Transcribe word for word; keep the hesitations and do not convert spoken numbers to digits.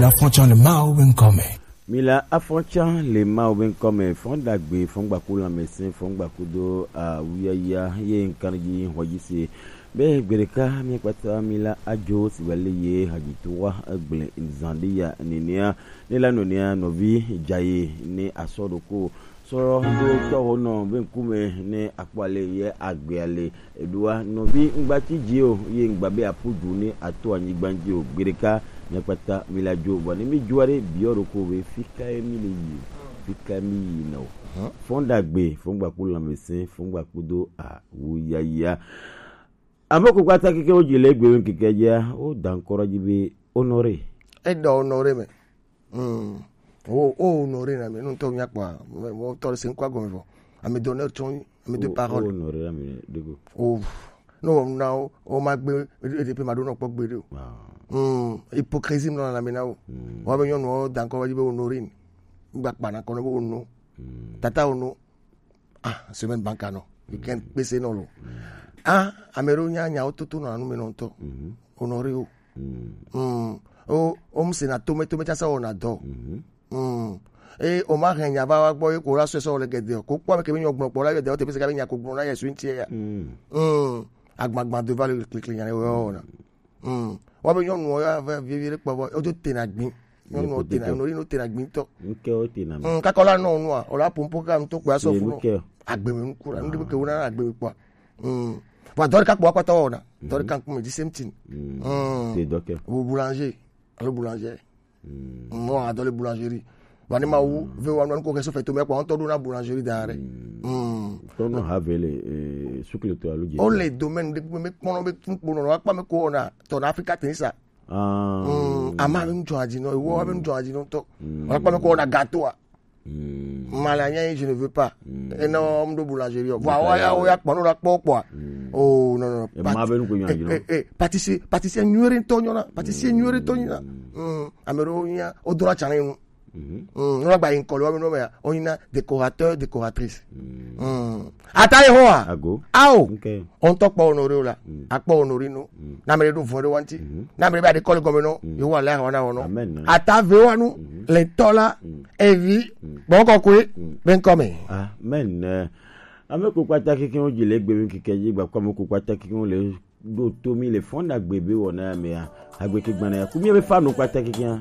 Afɔtsa le Mawu be ŋkɔ me. Mila afɔtsa le Mawu be ŋkɔ me, fɔn dagbe, fɔn gbaku lãmesẽ, fɔn gbaku do awuyaya ye ŋkan dzi hɔdzi se. Be gbeɖeka mi kpata mila adzo si wale ye hadzitowa egble zan ɖe ya nenea, ne la nɔnea nɔvi dzaye ne asɔ ɖoko sɔ ɖo tɔwo nɔ be ŋkume ne akpɔ ale ye agbea le. Eɖoa nɔvi ŋgba tsi dzi o, ye ŋgba be aƒu du ne ato anyigba dzi o. Gbeɖeka mi kpata mi la dzo, vɔ ne mi dzoa ɖe biɔ ɖoko be fi kae mi le yi, fi kae mi yi na o. Fɔn dagbe, fɔn gbaku lãmesẽ, fɔn gbaku do awuyaya. Ame ko kpata keke wo dzi le egbe ŋkeke dzia, wo da ŋkɔ ɖe dzi be honoré. Eɖɔ honoré me. Mm. Wo, wo honoré na me, nu ŋutɔ mía kpɔa, me, mo tɔ ɖe se ŋkɔ agɔme vɔ. Ame d'honneur tsɔ, ame de parole. Wo honoré na me ɖe go. O, no, na wo, wo ma gbe, e, e, pe ma ɖo nɔ kpɔ gbe ɖe o. Ah. Mm. Hypocrisie nɔ na me na wo. Mm. Wa be nyɔnu wo da ŋkɔ va dzi be honoré. Ŋgba kpa na kɔ ne be hono. Mm. Tata hono. Ah, semaine banca nɔ. Weekend kpese nɔ lo. Ah, ame ɖewo nya nyawo toto nɔ anu me nɔ ŋutɔ. Mhm. Honoré wo. Mm. Mm. O, o mu se na tome, tome tsasa wɔna dɔ. Mhm. Mm. E, o ma hɛn nya va wa gbɔ, e ko la sɔe sɔ le gɛdɛ o. Ko kpɔ ame ke mi nyɔ gblɔ kpɔ la gɛdɛ o, te pe se ka be nya ko gblɔ na ye su ŋuti ya. Mm. Mm. Agbagba do va le klikli nya le wɔna. Mm. Wa be nyɔnu ya va vivi ɖe kpɔ vɔ, o do tena gbi. Nyɔnu o tena, no no tena gbi tɔ. Nke o tena me. Mm, kakɔ la nɔ nua, o la pompo ka ŋutɔ kpɔ asɔ fu. Nke. Agbe me nuku la, nu ke wona agbe me kpɔ. Mm. Wa dɔ ɖeka kpɔ akpata wɔna. Dɔ ɖeka ŋkume di same thing. Mm. Mm. Te dɔ ke. Ou boulanger. Alo boulanger. Mm. Mm, wa dɔ le boulangerie. Wa ne ma wu, ve wa nɔ ko ke so fɛ to me kpɔ, ŋutɔ ɖo na boulangerie da ɖe. Mm. Tɔnɔ ha ve le, eh, sukle to alo je. O le domaine de me kpɔnɔ be tun kpɔnɔ, wa kpa me ko na, tɔ na Africa tenisa. Ah. Mm, ama be ŋdzɔ adzi nɔ, ewo be ŋdzɔ adzi nɔ tɔ. Mm. Wa kpa me ko na gâteau a. Mm. Malanya, je ne veux pas. Mm. Et non, on doit boulangerie. Voilà, ouais, ya, ya, kpɔ, no, la kpɔ, kpɔ. Mm. Oh, non, non. Et ma be ŋku nyɔ adzi nɔ. Eh, eh, pâtissier, pâtissier nyuie ŋutɔ nyɔna, pâtissier nyuie ŋutɔ nyɔna. Mm. Mm. Ame ɖewo nya, o do la tsana nu. Mhm. Mm, no la gba yi ŋkɔ le wa me no me ya. O nyina décorateur, décoratrice. Mm. Mm. Ata Yehowa. Ago. Ao. Okay. O ŋutɔ kpɔ honoré o la. Mm. Akpɔ honoré no. Mm. Na me ɖe ɖo vɔ ɖe wa ŋuti. Mhm. Na me ɖe be aɖe kɔ le gɔme nɔ. Mm. Yehowa le ahɔn na wɔ nɔ. Amen. Ata ve wa nu. Mhm. Le tɔ la. Mm. Evi. Mm. Gbɔ kɔkɔe. Mm. Be ŋkɔ me. Amen. Ame ko kpata keke wo dzi le egbe mi keke dzi gba kɔ ame ko kpata keke wo le ɖo to mi le fɔn dagbe be wɔna ya mea. Agbe ke gbana ya. Ku mi be fa no kpata keke ya.